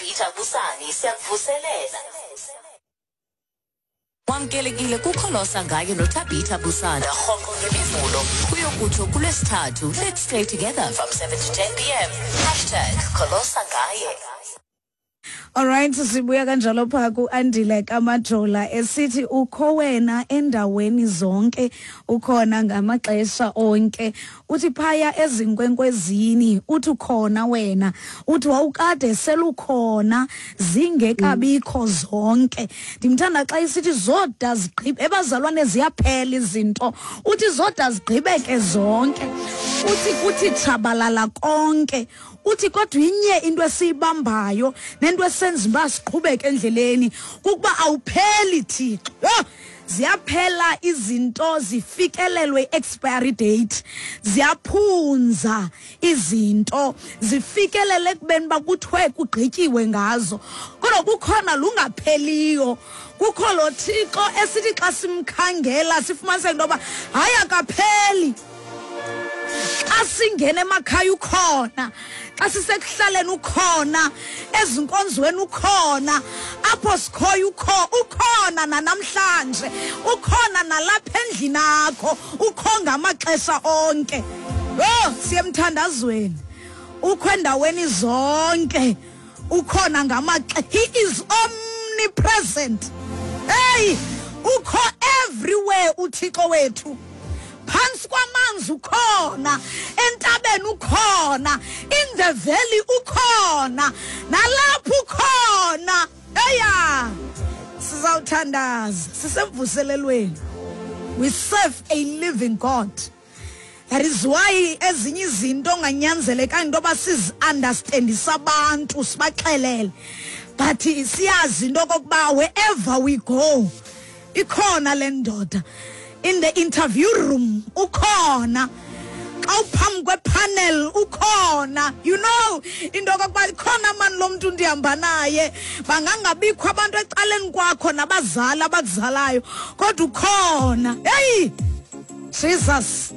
noThabitha Busani siyakuvuselela. Wamkelekile kukholosa ngaye noThabitha Busana rhoqo ngemivulo kuyokutsho kulwesithathu. Let's stay together from 7 to 10 p.m. Hashtag Kholosa ngaye. Alright, sibuya kanjalo pha kuAndile kaMajola esithi ukho wena endaweni zonke, ukhona ngamaxesha onke. Uthi phaya ezinkwenkwezini, uthi ukhona wena. Uthi wawukade selukhona zingekabikho zonke. Ndimthanda xa isithi zoda zigqibe, ebazalwane ziyaphela izinto. Uthi zoda zigqibeke zonke. Uthi kuthi tshabalala konke. Uthi kodwa inye into esiyibambayo nento esenza uba siqhubeke endleleni kukuba awupheli Thixo. Yho, ziyaphela izinto, zifikelelwe i-expiry date, ziyaphunza izinto, zifikelele ekubeni uba kuthiwe kugqityiwe ngazo, kodwa kukhona lungapheliyo. Kukho lo Thixo esithi xa simkhangela sifumaniseke into yoba hayi akapheli. Xa singena emakhaya ukhona, xa sisekuhlaleni ukhona, ezinkonzweni ukhona, apho sikhoyo ukhona nanamhlanje, ukhona nalapha endlini akho, ukho ngamaxesha onke. Yho, siye emthandazweni, ukho endaweni zonke, ukhona ngamaxe-, he is omnipresent. Hey, ukho everywhere uThixo wethu. Phantsi kwamanzi ukhona, entabeni ukhona, in the valley ukhona, nalapho ukhona. Eya, sizawuthandaza, sisemvuselelweni. We serve a living God. That is why ezinye izinto onganyanzelekanga into yoba sizi-understandise abantu, sibaxelele. But siyazi into okokuba wherever we go, ikhona le ndoda. In the interview room, ukhona. Xa uphambi kwepanel, ukhona. You know, into okokuba ikhona mani lo mntu ndihamba naye. Bangangabikho abantu ecaleni kwakho nabazali abakuzalayo, kodwa ukhona. Hey! Jesus!